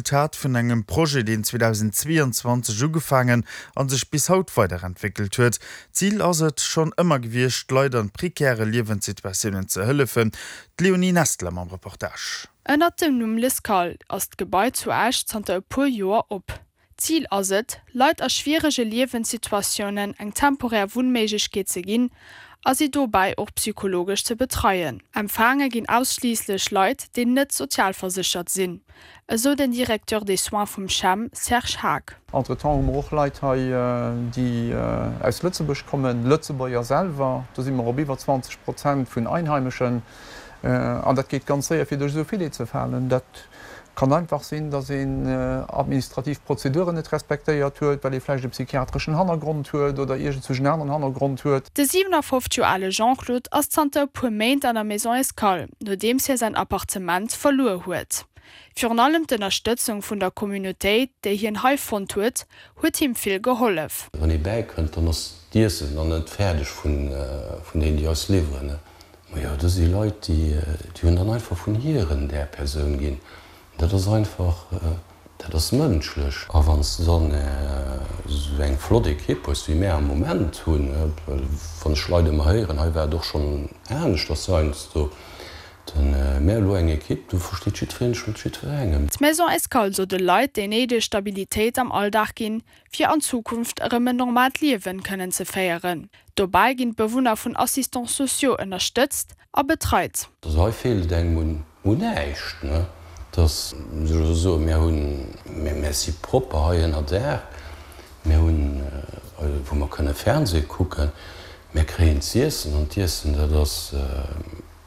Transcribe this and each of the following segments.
d'Resultat vun engem Projet, deen 2022 ugefaangen a sech bis haut weiderentwéckelt huet. D'Zil ass et schonn ëmmer gewiescht, Leit an prekäre Liewenssituatiounen ze hëllefen. D'Léonie Nestler mam Reportage. Ënnert dem Numm L'Escale ass d'Gebai zu Esch zanter e puer Joer op. Zil ass et, Leit a schwierege Liewenssituatiounen eng temporär Wunnméiglechkeet ze ginn a si dobäi och psychologesch ze betreien. Empfaange ginn ausschliisslech Leit, déi net sozialverséchert sinn, esou den Directeur des soins vum CHEM, Serge Haag. Entretemps hu mer och Leit hei, déi aus Lëtzebuerg kommen, Lëtzebuerger selwer. Do si mer op iwwer 20 Prozent vun Einheimeschen. An dat geet ganz séier, fir duerch esou Filet ze falen. Dat kann einfach sinn, datt een administrativ Prozeduren net respektéiert huet, well ee vläicht e psychiatreschen Hannergrond huet oder iergendzwousch en aneren Hannergrond huet. De 57 Joer ale Jean-Claude ass zanter e puer Méint an der Maison Escale, nodeems hie säin Appartement verluer huet. Virun allem d'Ënnerstëtzung vun der Communautéit, déi hien hei fonnt huet, huet him vill gehollef. Wann ee bäikënnt, dann ass d'Iessen dann net fäerdeg vun deenen, déi eis liwweren. Majo, do si Leit, déi hunn dann einfach vun hiren där Persoun ginn. Dat ass einfach, dat ass mënschlech. A wann s de dann esou eng flott Ekipp hues, wéi mär am Moment hunn, well wann ech Leit ëmmer héieren, hei war et och schonn aneschters heiansdo, dann mär elo eng Ekipp, do versteet jiddwereen sech mat jiddwerengem. D'Maison Escale soll de Leit déi néideg Stabilitéit am Alldag ginn, fir an Zukunft erëm en normaalt Liewen kënnen ze féieren. Dobäi ginn d'Bewunner vun Assistants sociaux ënnerstëtzt a betreit. Also hei feelt et engem un näischt, ne? Dass, muss ech elo soen, mir hunn, mir si propper hei ënner Daach, mir hunn, wou mer kënne Fernseh kucken, mir kréien z'iessen an d'Iessen, dat ass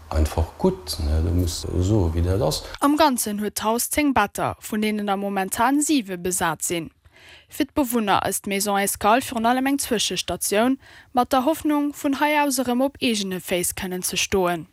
einfach gutt, ne? Do muss de soen, wéi dat ass. Am Ganzen huet d'Haus 10 Better, vun deenen der momentan 7 besat sinn. Fir d'Bewunner ass d'Maison Escale virun allem eng Zwëschestatioun, mat der Hoffnung, vun hei aus erëm op eegene Féiss kënnen ze stoen.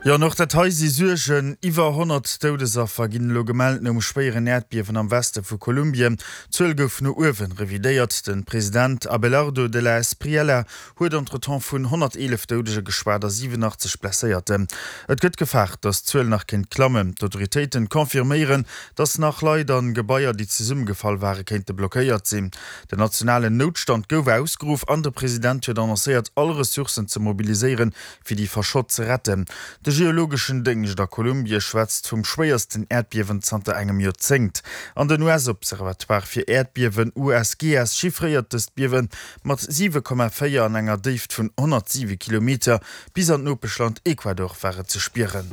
Jo, an och dat hei si Suergen. Iwwer 100 Doudesaffer ginn elo gemellt nom schwéieren Äerdbiewen am Weste vu Kolumbien. D'Zuel gouf no uewe revidéiert. De President Abelardo de la Espriella huet entretemps vun 111 Doudege geschwat a 87 Blesséierten. Et gëtt gefaart, datt d'Zuel nach kéint klammen. D'Autoritéiten confirméieren, datt nach Leit an Gebaier, déi zesummegefall ware kéinte blockéiert sinn. Den nationalen Noutstand gouf ausgeruff an de President huet annoncéiert, all Ressourcen ze mobiliséieren, fir déi Verschott ze retten. De geologeschen Déngscht a Kolumbie schwätzt vum schwéiersten Äerdbiewen zanter engem Joerzéngt. An den US-Observatoire fir Äerdbiewen, USGS, chiffréiert dëst Biewe Mat 7,4 an enger Déift vun 107 Kilometer bis an d'Nopeschland Ecuador war et ze spieren.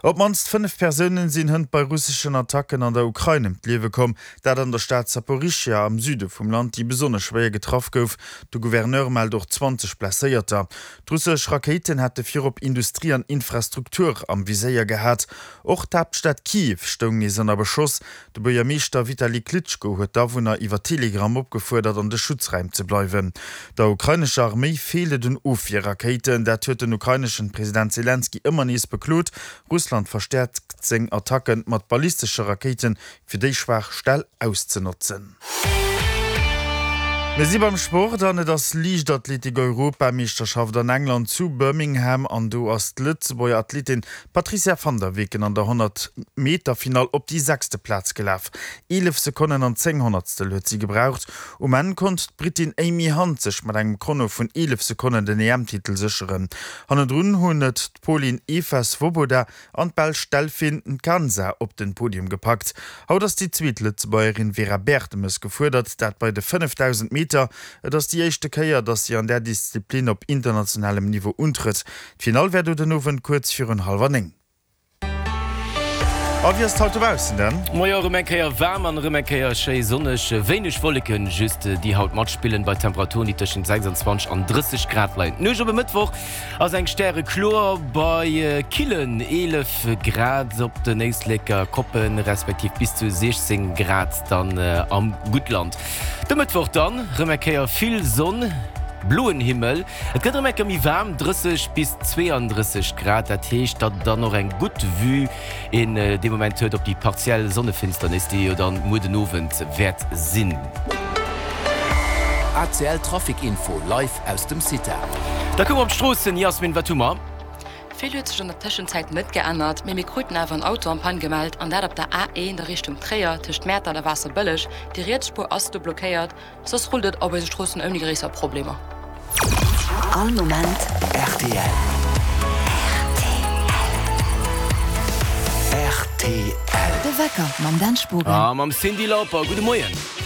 Op d'mannst 5 Persounen sinn hënt bei russeschen Attacken an der Ukrain ëm d'Liewe komm, dat an der Stad Saporischschja am Süde vum Land, déi besonnesch schwéier getraff gouf. De Gouverneur mellt och 20 Blesséierter. D'russesch Rakéiten hätte virop Industrie an Infrastruktur am Viséier gehat. Och d'Haaptstad Kiew stoung nees ënner Beschoss. De Buergermeeschter Vitali Klitschko huet d'Awunner iwwer Telegram opgefuerdert, an de Schutzräim ze bleiwen. Der ukrainescher Arméi feelt et un Ofwierrakéiten. Dat huet den ukraineschen President Selenskyj ëmmer nees beklot. Russland verstäerkt seng Attacke mat ballistesche Rakéiten, fir déi schwaach Stell auszenotzen. Mir si beim Sport an et ass Liichtathletik-Europameeschterschaft an England zu Birmingham an do ass d'Lëtzebuerger Athletin D'Patrizia van der Weken an der 100 Meter Finall op déi sechste Plaz gelaf. 11 Sekonnen an 10 Honnertstel huet si gebraucht. Um Enn konnt d'Brittin Amy Hunt sech mat engem Chrono vun 11 Sekonnen den EM-Titel sécheren. Hannendrun hunn et d'Polin Eva Swoboda an d'Belsch Delphine Nkansa op den Podium gepackt. Haut ass déi zweet Lëtzebuergerin Vera Bertemes gefuerdert, dat bei de 5000 Meter. Et ass déi éischte Kéier, datt si an där Disziplin op internationalem Niveau untrëtt. D'Finall wär do den Owend kuerz virun hallwer 9. A wéi ass et haut dobaussen dann? Moie, erëm eng Kéier waarm an erëm eng Kéier schéi sonneg. Wéineg Wolleken just, déi haut matspillen, bei Temperaturen, déi tëschent 26 an 30 Grad leien. D'Nuecht op e Mëttwoch ass eng stärekloer bei killen 11 Grad op den Éisleker Koppen, respektiv bis zu 16 Grad dann am Guttland. De Mëttwoch dann erëm eng Kéier vill Sonn, bloen Himmel. Et gëtt erëm eng Kéier méi waarm, 30 bis 32 Grad. Dat heescht, datt et dann och eng gutt Vue een dee Moment huet op déi partiell Sonnefinsternis, déi jo dann muer den Owend wäert sinn. ACL Trafic Info live aus dem CITA. Da kucke mer op d'Stroossen. Yasmin, wat hu mer? Vill huet sech an der Tëschenzäit net geännert, mee mir kruten awer en Auto en panne gemellt an dat op der A1 a Richtung Tréier tëscht Mäertert a Waasserbëlleg. Déi riets Spuer ass do blockéiert, soss rullt et op eise Stroossen ouni gréisser Problemer. All Moment rtl. Rtl. De Wecker mam Dan Spogen. A mam Cyndi Lauper. Gudde Moien.